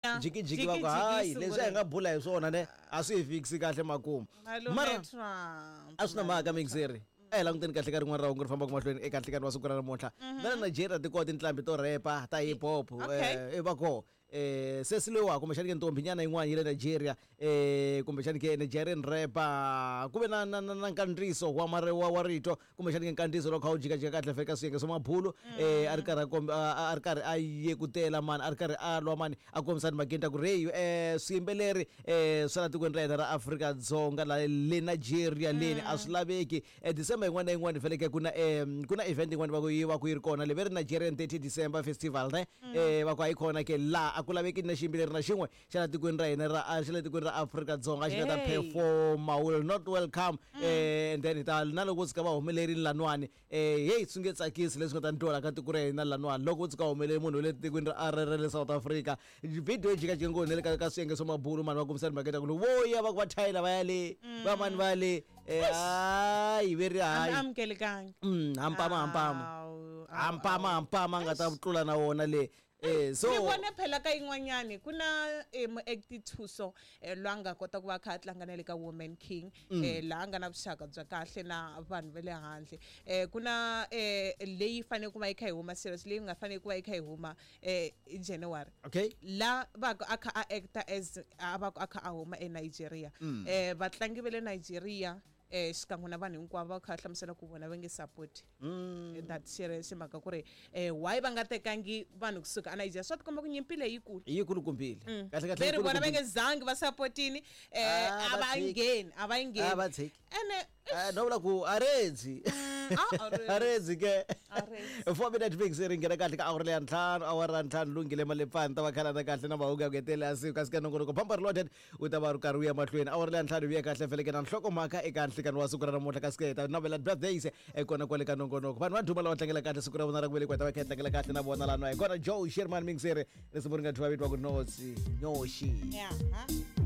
Jikijiki va ku hayi, leswi a hi nga bula hi swona ne a swi hi fikisi kahle makumu. Mara a swi na mhaka, mixeri a hi languteni kahle ka rin'wana ra hungu ri fambaka mahlweni eka nhlikani wa siku ra namuntlha. Na le Nigeria ti kona tinqambi to rhepa ta hip hop. Va koho sesi loyiwa, kumbexani ke ntombi nyana yin'wana yi le Nigeria, kumbexani ke Nigerian rapper, ku ve na nkandziyiso wa mare wa rito, kumbexani ke nkandziyiso lowu kha wu jikajika kahle feka swiyenge swa mabulu, a ri karhi a ri karhi a yekutela mani, a ri karhi a lwa mani, a kombisa timhakeni ta ku reyi swiyimbeleri swa la tikweni ra hina ra Afrika-Dzonga la le Nigeria leni a swi laveki. December yin'wana na yin'wana faneleke ku na event yin'wana va ku yi va ku yi ri kona le ve ri Nigerian 30 December Festival ne, va ku a yi kona ke laha a ku laveki na xiyimbeleri na xin'we xa la tikweni ra hina ra xa le tikweni ra Afrika-Dzonga xi nga ta performa, will not welcome. And then hi ta na loko vo tshuka va humelerile laniwani, heyi, swi nge tsakisi leswi nga ta ni twala ka tiko ra hina laniwani loko vo tshuka humelele munhu wa le tikweni ra le South Africa. Video yi jikajika ngopfu na le ka swiyenge swa mabulu mani, va kombisa timhaka ta ku loko vo ya va ku va thayela va ya le va mani va ya le, hayi ve ri hayi. Amukelekangi. Hampama hampama. Awu, awu, hampama. Awu. Hampama nga ta tlula na wona le, so Ni vone phela ka yin'wanyani ku na muacti Thuso, loyi a nga kota ku va a kha a tlanga na le ka Woman King, laha a nga na vuxaka bya kahle na vanhu va le handle. Ku na leyi fanele ku va yi kha yi huma, series leyi nga fanele ku va yi kha yi huma hi January, la va ku a kha a acta as a va ku a kha a huma eNigeria. Vatlangi va le Nigeria, xikan'we na vanhu hinkwavo va kha va hlamusela ku vona va nge support that series, hi mhaka ku ri why va nga tekangi vanhu kusuka a Nigeria. Swa tikomba ku nyimpi leyi yikulu. Yi kulukumbile kahle kahle. Ve ri vona va nge zangi va sapotini, Ah, a va va tshiki. ngheni, a va yi Ah, va ngheni. tshiki. Ene No vula ku aredzi. Ah, aredzi. Aredzi ke. Aredzi. 4 minute fix ri nghena kahle ka awara leya ntlhanu, awara ya ntlhanu lunghile malepfani ta va khalana kahle na mahungu ya ku hetelela ya siku, kasi ka nongonoko Bampa Reloaded wu ta va ri karhi wu ya mahlweni. Awara leya ntlhanu vuya kahle feleke na nhlokomhaka eka nhlikani wa siku ra namuntlha, kasi ke hi ta navela birthdays kona kwale ka nongonoko, vanhu va ndhuma lava tlangela kahle siku ra vona ra ku velekiwa, hi ta va kha hi tlangela kahle na vona laniwa. Hi kona Joe Sherman Mixere, risimu ri nga thyiwa vitiwa ku Notsi Nyoxi. Yeah, huh?